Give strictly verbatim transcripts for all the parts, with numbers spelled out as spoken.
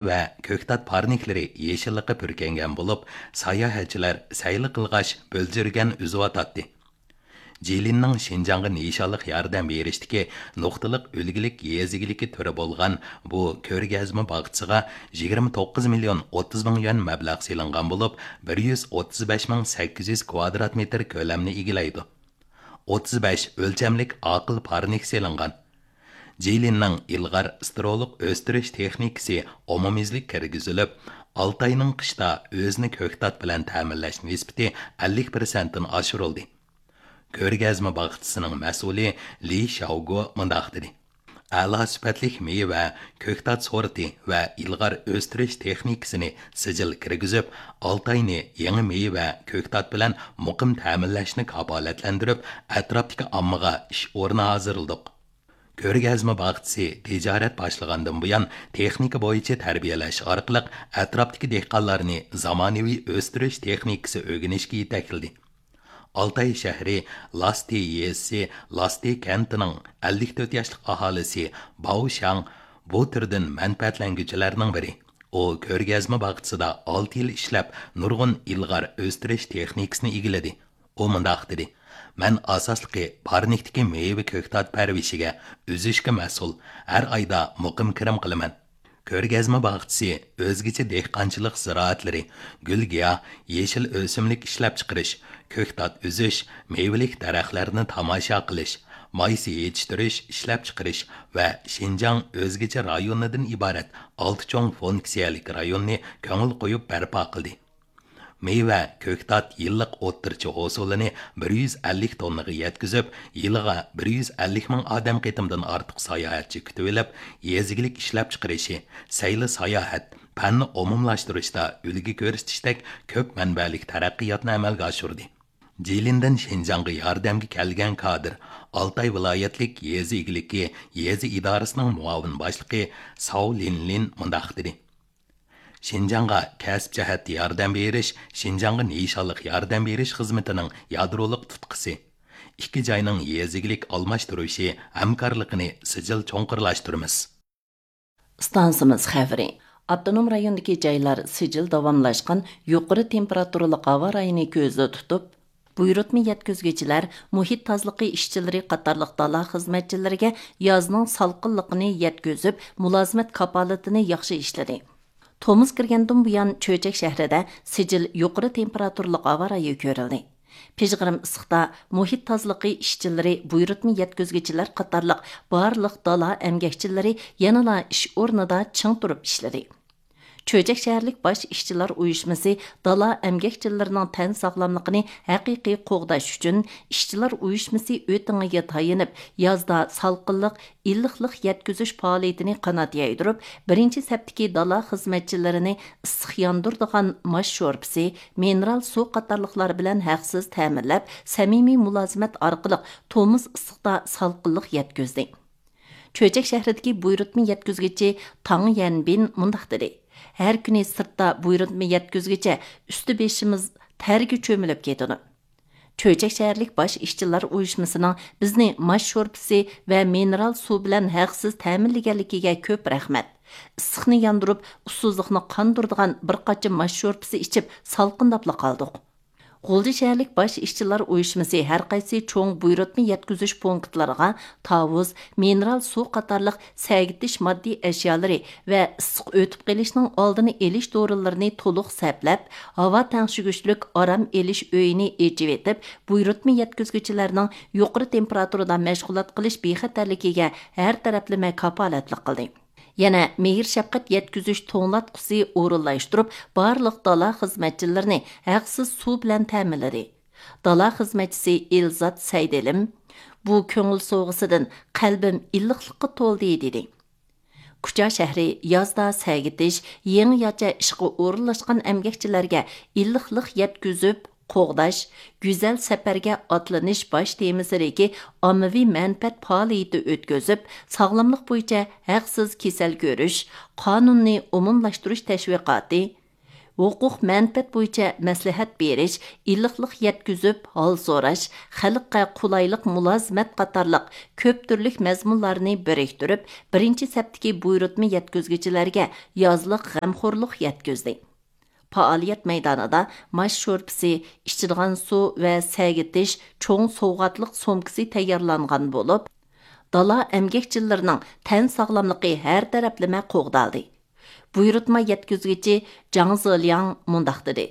ۋە كۆكتات پارنىكلىرى يېشىللىققا پۈركەنگەن بولۇپ، ساياھەتچىلەر سەيلە قىلغاچ بۆلجۈرگەن ئۈزۈۋاتاتتى. جىلىننىڭ شىنجاڭغا نىشانلىق ياردەم بېرىشتىكى نۇقتىلىق ئۈلگىلىك يېزا ئىگىلىكى تۈرى بولغان بۇ كۆرگەزمە باغچىسىغا يىگىرمە توققۇز مىليون ئوتتۇز مىڭ يۈەن مەبلەغ سېلىنغان بولۇپ، بىر يۈز ئوتتۇز بەش مىڭ سەككىز يۈز كۋادرات مېتىر كۆلەمنى ئىگىلەيدۇ. ئوتتۇز بەش ئۆلچەملىك ئاقىل پارنىك سېلىنغان. جىلىننىڭ ئىلغار ستېرېئولۇق ئۆستۈرۈش تېخنىكىسى ئومۇميۈزلۈك كىرگۈزۈلۈپ، ئالتاينىڭ قىشتا ئۆزىنى كۆكتات بىلەن تەمىنلەش نىسبىتى ئەللىك پىرسەنتتىن ئاشۇرۇلدى. كۆرگەزمە باغچىسىنىڭ مەسئۇلى لى شياۋگو مۇنداق دېدى: ئەلا سۈپەتلىك مېۋە، كۆكتات سورتى ۋە ئىلغار ئۆستۈرۈش تېخنىكىسىنى سىجىل كىرگۈزۈپ، ئالتاينى يېڭى مېۋە، كۆكتات بىلەن مۇقىم تەمىنلەشنى كاپالەتلەندۈرۈپ، ئەتراپتىكى ئاممىغا ئىش ئورنى ھازىرلىدۇق. كۆرگەزمە باغچىسى تىجارەت باشلىغاندىن بۇيان، تېخنىكا بويىچە تەربىيەلەش ئارقىلىق ئەتراپتىكى دېھقانلارنى زامانىۋى ئۆستۈرۈش تېخنىكىسى ئۆگىنىشكە يېتەكلىدى. ئالتاي شەھىرى لاسسى يېزىسى لاسسى كەنتىنىڭ ئەللىك تۆت ياشلىق ئاھالىسى باۋ شاڭ بۇ تۈردىن مەنپەئەتلەنگۈچىلەرنىڭ بىرى. ئۇ كۆرگەزمە باغچىسىدا ئالتە يىل ئىشلەپ، نۇرغۇن ئىلغار ئۆستۈرۈش تېخنىكىسىنى ئىگىلىدى. ئۇ مۇنداق دېدى: مەن ئاساسلىقى پارنىكتىكى مېۋە كۆكتات پەرۋىشىگە، ئۈزۈشكە مەسئۇل، ھەر ئايدا مۇقىم كىرىم قىلىمەن. كۆرگەزمە باغچىسى ئۆزگىچە دېھقانچىلىق زىرائەتلىرى، گۈل-گىياھ، يېشىل ئۆسۈملۈك ئىشلەپچىقىرىش، كۆكتات ئۈزۈش، مېۋىلىك دەرەخلەرنى تاماشا قىلىش، مايسا يېتىشتۈرۈش، ئىشلەپچىقىرىش ۋە شىنجاڭ ئۆزگىچە رايونىدىن ئىبارەت ئالتە چوڭ فۇنكسىيەلىك رايوننى كۆڭۈل قويۇپ بەرپا قىلدى. مېۋە، كۆكتات يىللىق ئوتتۇرىچە ھوسۇلىنى بىر يۈز ئەللىك توننىغا يەتكۈزۈپ، يىلىغا بىر يۈز ئەللىك مىڭ ئادەم قېتىمدىن ئارتۇق ساياھەتچى كۈتۈۋېلىپ، يېزا ئىگىلىك ئىشلەپچىقىرىشى، سەيلە ساياھەت، پەننى ئومۇملاشتۇرۇشتا ئۈلگە كۆرسىتىشتەك كۆپ مەنبەلىك تەرەققىياتنى ئەمەلگە ئاشۇردى. جىلىندىن شىنجاڭغا ياردەمگە كەلگەن كادىر ئالتاي ۋىلايەتلىك يېزا ئىگىلىكى يېزا ئىدارىسىنىڭ مۇئاۋىن باشلىقى ساۋ لىنلىن مۇنداق دېدى: شىنجاڭغا كەسىپ جەھەتتە ياردەم بېرىش، شىنجاڭغا نىشانلىق ياردەم بېرىش خىزمىتىنىڭ يادرولۇق تۇتقىسى. ئىككى جاينىڭ يېزا ئىگىلىك ئالماشتۇرۇشى، ھەمكارلىقىنى سىجىل چوڭقۇرلاشتۇرىمىز. ئىستانسىمىز خەۋىرى. ئاپتونوم رايوندىكى جايلار سىجىل داۋاملاشقان يۇقىرى تېمپېراتۇرىلىق ھاۋا رايىنى كۆزدە تۇتۇپ، بۇيرۇتما يەتكۈزگۈچىلەر، مۇھىت تازىلىقى ئىشچىلىرى قاتارلىق دالا خىزمەتچىلىرىگە يازنىڭ سالقىنلىقىنى يەتكۈزۈپ، مۇلازىمەت كاپالىتىنى ياخشى ئىشلىدى. تومۇز كىرگەندىن بۇيان، چۆچەك شەھىرىدە سىجىل يۇقىرى تېمپېراتۇرىلىق ھاۋا رايى كۆرۈلدى. پىژغىرىم ئىسسىقتا مۇھىت تازىلىقى ئىشچىلىرى، بۇيرۇتما يەتكۈزگۈچىلەر قاتارلىق بارلىق دالا ئەمگەكچىلىرى يەنىلا ئىش ئورنىدا چىڭ تۇرۇپ ئىشلىدى. چۆچەك شەھەرلىك باش ئىشچىلار ئۇيۇشمىسى دالا ئەمگەكچىلىرىنىڭ تەن ساغلاملىقىنى ھەقىقىي قوغداش ئۈچۈن، ئىشچىلار ئۇيۇشمىسى ئۆتىڭىگە تايىنىپ، يازدا سالقىنلىق، ئىللىقلىق يەتكۈزۈش پائالىيىتىنى قانات يايدۇرۇپ، بىرىنچى سەپتىكى دالا خىزمەتچىلىرىنى ئىسسىق ياندۇرىدىغان ماش شورپىسى، مىنېرال سۇ قاتارلىقلار بىلەن ھەقسىز تەمىنلەپ، سەمىمىي مۇلازىمەت ئارقىلىق تومۇز ئىسسىقتا سالقىنلىق يەتكۈزدى. چۆچەك شەھىرىدىكى بۇيرۇتما يەتكۈزگۈچى تاڭ يەنبىن مۇنداق دېدى: ھەر كۈنى سىرتتا بۇيرۇتما يەتكۈزگۈچە ئۈستى بېشىمىز تەرگە چۆمۈلۈپ كېتىدۇ. چۆچەك شەھەرلىك باش ئىشچىلار ئۇيۇشمىسىنىڭ بىزنى ماش شورپىسى ۋە مىنېرال سۇ بىلەن ھەقسىز تەمىنلىگەنلىكىگە كۆپ رەھمەت. ئىسسىقنى ياندۇرۇپ، ئۇسسۇزلۇقنى قاندۇرىدىغان بىر قاچا ماش شورپىسى ئىچىپ، سالقىنداپلا قالدۇق. غۇلجا شەھەرلىك باش ئىشچىلار ئۇيۇشمىسى ھەر قايسى چوڭ بۇيرۇتما يەتكۈزۈش پونكىتلىرىغا تاۋۇز، مىنېرال سۇ قاتارلىق سەگىتىش ماددىي ئەشيالىرى ۋە ئىسسىق ئۆتۈپ قېلىشنىڭ ئالدىنى ئېلىش دورىلىرىنى تولۇق سەپلەپ، ھاۋا تەڭشىگۈچلۈك ئارام ئېلىش ئۆيىنى ئېچىۋېتىپ، بۇيرۇتما يەتكۈزگۈچىلەرنىڭ يۇقىرى تېمپېراتۇرىدا مەشغۇلات قىلىش بىخەتەرلىكىگە ھەر تەرەپلىمە كاپالەتلىك قىلدى. يەنە مېھىر-شەپقەت يەتكۈزۈش توڭلاتقۇسى ئورۇنلاشتۇرۇپ، بارلىق دالا خىزمەتچىلىرىنى ھەقسىز سۇ بىلەن تەمىنلىدى. دالا خىزمەتچىسى ئېلزات سەيدىلىم بۇ كۆڭۈل سوۋغىسىدىن قەلبىم ئىللىقلىققا تولدى، دېدى. كۇچا شەھىرى يازدا سەگىتىش، يېڭىچە ئىشقا ئورۇنلاشقان ئەمگەكچىلەرگە ئىللىقلىق يەتكۈزۈپ، قوغداش، گۈزەل سەپەرگە ئاتلىنىش باش تېمىسىدىكى ئاممىۋى مەنپەئەت پائالىيىتى ئۆتكۈزۈپ، ساغلاملىق بويىچە ھەقسىز كېسەل كۆرۈش قانۇنىنى ئومۇملاشتۇرۇش تەشۋىقاتى، ھوقۇق مەنپەئەت بويىچە مەسلىھەت بېرىش، ئىللىقلىق يەتكۈزۈپ ھال سوراش، خەلققە قولايلىق مۇلازىمەت قاتارلىق كۆپ تۈرلۈك مەزمۇنلارنى بىرىكتۈرۈپ، بىرىنچى سەپتىكى بۇيرۇتما يەتكۈزگۈچىلەرگە يازلىق غەمخورلۇق يەتكۈزدى. پائالىيەت مەيدانىدا ماش شورپىسى، ئىچىدىغان سۇ ۋە سەگىتىش چوڭ سوۋغاتلىق سومكىسى تەييارلانغان بولۇپ، دالا ئەمگەكچىلىرىنىڭ تەن ساغلاملىقى ھەر تەرەپلىمە قوغدالدى. بۇيرۇتما يەتكۈزگۈچى جاڭ زېلياڭ مۇنداق دېدى: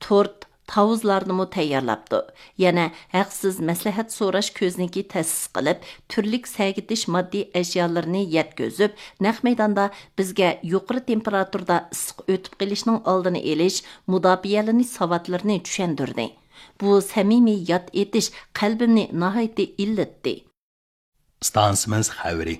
تورت، تاۋۇزلارنىمۇ تەييارلاپتۇ. يەنە ھەقسىز مەسلىھەت سوراش كۆزنىكى تەسىس قىلىپ، تۈرلۈك سەگىتىش ماددىي ئەشيالىرىنى يەتكۈزۈپ، نەق مەيداندا بىزگە يۇقىرى تېمپېراتۇرىدا ئىسسىق ئۆتۈپ قېلىشنىڭ ئالدىنى ئېلىش، مۇداپىئەلىنىش ساۋاتلىرىنى چۈشەندۈردى. بۇ سەمىمىي ياد ئېتىش قەلبىمنى ناھايىتى ئىللىتتى. ئىستانسىمىز خەۋىرى.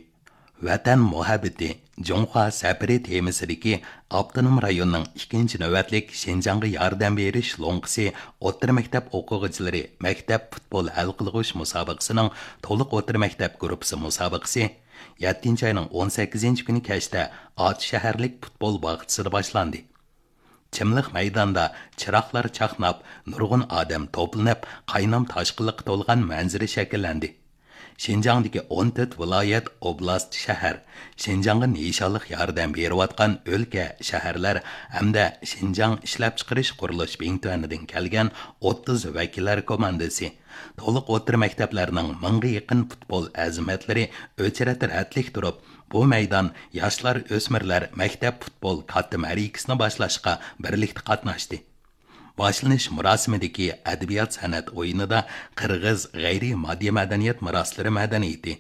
ۋەتەن مۇھەببىتى، جۇڭخۇا سەپىرى تېمىسىدىكى ئاپتونوم رايوننىڭ ئىككىنچى نۆۋەتلىك شىنجاڭغا ياردەم بېرىش لوڭقىسى ئوتتۇرا مەكتەپ ئوقۇغۇچىلىرى مەكتەپ پۇتبول ھەل قىلغۇچ مۇسابىقىسىنىڭ تولۇق ئوتتۇرا مەكتەپ گۇرۇپپىسى مۇسابىقىسى يەتتىنچى ئاينىڭ ئون سەككىزىنچى كۈنى كەچتە ئاتۇش شەھەرلىك پۇتبول باغچىسىدا باشلاندى. چىملىق مەيداندا چىراغلار چاقناپ، نۇرغۇن ئادەم توپلىنىپ، قاينام تاشقىنلىققا تولغان مەنزىرە شەكىللەندى. شىنجاڭدىكى ئون تۆت ۋىلايەت، ئوبلاست، شەھەر، شىنجاڭغا نىشانلىق ياردەم بېرىۋاتقان ئۆلكە، شەھەرلەر ھەمدە شىنجاڭ ئىشلەپچىقىرىش قۇرۇلۇش بىڭتۈەنىدىن كەلگەن ئوتتۇز ۋەكىللەر كوماندىسى، تولۇق ئوتتۇرا مەكتەپلەرنىڭ مىڭغا يېقىن پۇتبول ئەزىمەتلىرى ئۆچرەت رەتلىك تۇرۇپ، بۇ مەيدان ياشلار، ئۆسمۈرلەر مەكتەپ پۇتبول كاتتا مەرىكىسىنى باشلاشقا بىرلىكتە قاتناشتى. باشلىنىش مۇراسىمىدىكى ئەدەبىيات سەنئەت ئويۇنىدا قىرغىز غەيرىي ماددىي مەدەنىيەت مىراسلىرى مەدەنىيىتى،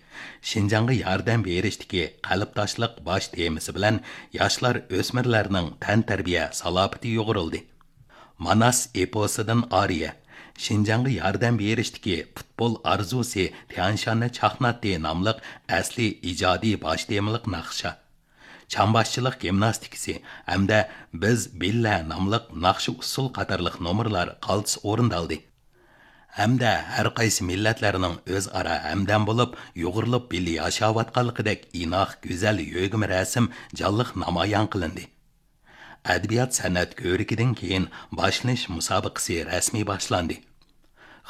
شىنجاڭغا ياردەم بېرىشتىكى قەلبداشلىق باش تېمىسى بىلەن ياشلار، ئۆسمۈرلەرنىڭ تەنتەربىيە سالاپىتى يۇغۇرۇلدى. ماناس ئېپوسىدىن ئارىيە، شىنجاڭغا ياردەم بېرىشتىكى پۇتبول ئارزۇسى تيەنشاننى چاقناتتى ناملىق ئەسلىي ئىجادىي باش تېمىلىق ناخشا، چامباشچىلىق گىمناستىكىسى ھەمدە بىز بىللە ناملىق ناخشا ئۇسسۇل قاتارلىق نومۇرلار قالتىس ئورۇندالدى. ھەمدە ھەر قايسى مىللەتلەرنىڭ ئۆزئارا ھەمدەم بولۇپ، يۇغۇرۇلۇپ بىللە ياشاۋاتقانلىقىدەك ئىناق، گۈزەل يۆگىمە رەسىم جانلىق نامايان قىلىندى. ئەدەبىيات سەنئەت كۆرىكىدىن كېيىن باشلىنىش مۇسابىقىسى رەسمىي باشلاندى.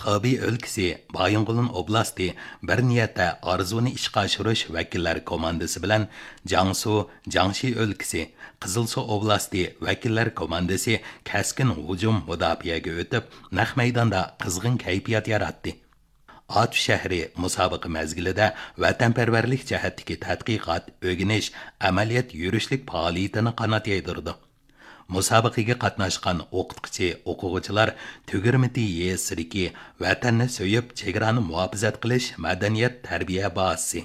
خېبېي ئۆلكىسى، بايىنغولىن ئوبلاستى بىر نىيەتتە ئارزۇنى ئىشقا ئاشۇرۇش ۋەكىللەر كوماندىسى بىلەن جياڭسۇ، جياڭشى ئۆلكىسى، قىزىلسۇ ئوبلاستى ۋەكىللەر كوماندىسى كەسكىن ھۇجۇم مۇداپىئەگە ئۆتۈپ، نەق مەيداندا قىزغىن كەيپىيات ياراتتى. ئاتۇش شەھىرى مۇسابىقە مەزگىلىدە ۋەتەنپەرۋەرلىك جەھەتتىكى تەتقىقات، ئۆگىنىش، ئەمەلىيەت يۈرۈشلۈك پائالىيىتىنى قانات يايدۇرىدۇ. مۇسابىقىگە قاتناشقان ئوقۇتقۇچى، ئوقۇغۇچىلار تۈگۈرمىتى يېزىسىدىكى ۋەتەننى سۆيۈپ، چېگرانى مۇھاپىزەت قىلىش مەدەنىيەت تەربىيە بازىسى،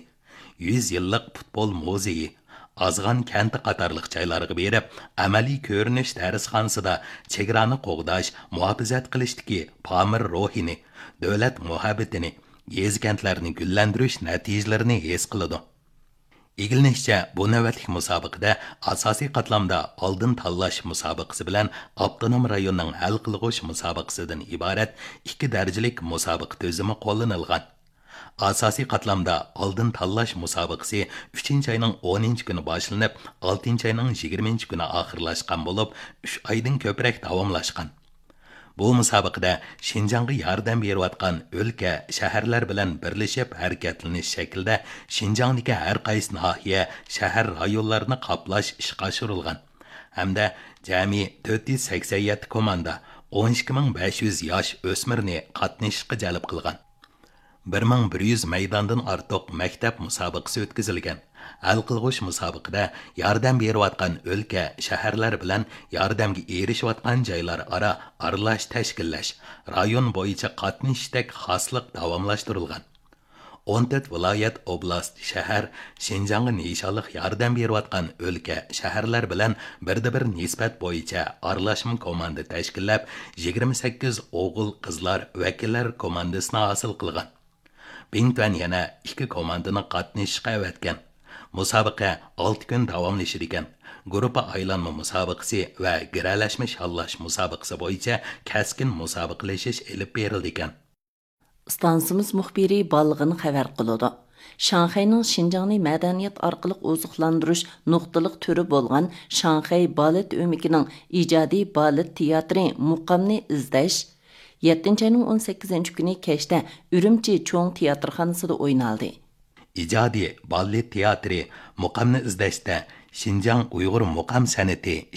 يۈز يىللىق پۇتبول مۇزېيى، ئازغان كەنتى قاتارلىق جايلارغا بېرىپ، ئەمەلىي كۆرۈنۈش دەرسخانىسىدا چېگرانى قوغداش، مۇھاپىزەت قىلىشتىكى پامىر روھىنى، دۆلەت مۇھەببىتىنى، يېزا، كەنتلەرنى گۈللەندۈرۈش نەتىجىلىرىنى ھېس قىلىدۇ. ئىگىلىنىشىچە، بۇ نۆۋەتلىك مۇسابىقىدە ئاساسىي قاتلامدا ئالدىن تاللاش مۇسابىقىسى بىلەن ئاپتونوم رايوننىڭ ھەل قىلغۇچ مۇسابىقىسىدىن ئىبارەت ئىككى دەرىجىلىك مۇسابىقە تۈزۈمى قوللىنىلغان. ئاساسىي قاتلامدا ئالدىن تاللاش مۇسابىقىسى ئۈچىنچى ئاينىڭ ئونىنچى كۈنى باشلىنىپ، ئالتىنچى ئاينىڭ يىگىرمىنچى كۈنى ئاخىرلاشقان بولۇپ، ئۈچ ئايدىن كۆپرەك داۋاملاشقان. بۇ مۇسابىقىدە شىنجاڭغا ياردەم بېرىۋاتقان ئۆلكە، شەھەرلەر بىلەن بىرلىشىپ ھەرىكەتلىنىش شەكلىدە شىنجاڭدىكى ھەر قايسى ناھىيە، شەھەر، رايونلارنى قاپلاش ئىشقا ئاشۇرۇلغان ھەمدە جەمئىي تۆت يۈز سەكسەن يەتتە كوماندا، ئون ئىككى مىڭ بەش يۈز ياش ئۆسمۈرنى قاتنىشىشقا جەلپ قىلغان. بىر مىڭ بىر يۈز مەيداندىن ئارتۇق مەكتەپ مۇسابىقىسى ئۆتكۈزۈلگەن. ھەل قىلغۇچ مۇسابىقىدە ياردەم بېرىۋاتقان ئۆلكە، شەھەرلەر بىلەن ياردەمگە ئېرىشىۋاتقان جايلار ئارا ئارىلاش تەشكىللەش، رايون بويىچە قاتنىشىشتەك خاسلىق داۋاملاشتۇرۇلغان. ئون تۆت ۋىلايەت، ئوبلاست، شەھەر شىنجاڭغا نىشانلىق ياردەم بېرىۋاتقان ئۆلكە، شەھەرلەر بىلەن بىردە بىر نىسبەت بويىچە ئارىلاشما كوماندا تەشكىللەپ، يىگىرمە سەككىز ئوغۇل، قىزلار ۋەكىللەر كوماندىسىنى ھاسىل قىلغان. بىڭتۈەن يەنە ئىككى كوماندىنى قاتنىشىشقا ئەۋەتكەن. مۇسابىقە ئالتە كۈن داۋاملىشىدىكەن. گۇرۇپپا ئايلانما مۇسابىقىسى ۋە گىرەلەشمە شاللاش مۇسابىقىسى بويىچە كەسكىن مۇسابىقىلىشىش ئېلىپ بېرىلىدىكەن. ئىستانسىمىز مۇخبىرى بالغىن خەۋەر قىلىدۇ. شاڭخەينىڭ شىنجاڭنى مەدەنىيەت ئارقىلىق ئوزۇقلاندۇرۇش نۇقتىلىق تۈرى بولغان شاڭخەي بالېت ئۆمىكىنىڭ ئىجادىي بالېت تىياتىرى مۇقامنى ئىزدەش يەتتىنچى ئاينىڭ ئون سەككىزىنچى كۈنى كەچتە ئۈرۈمچى چوڭ تىياتىرخانىسىدا ئوينالدى. ئىجادىي بالېت تىياتىرى مۇقامنى ئىزدەشتە شىنجاڭ ئۇيغۇر مۇقام سەنئىتى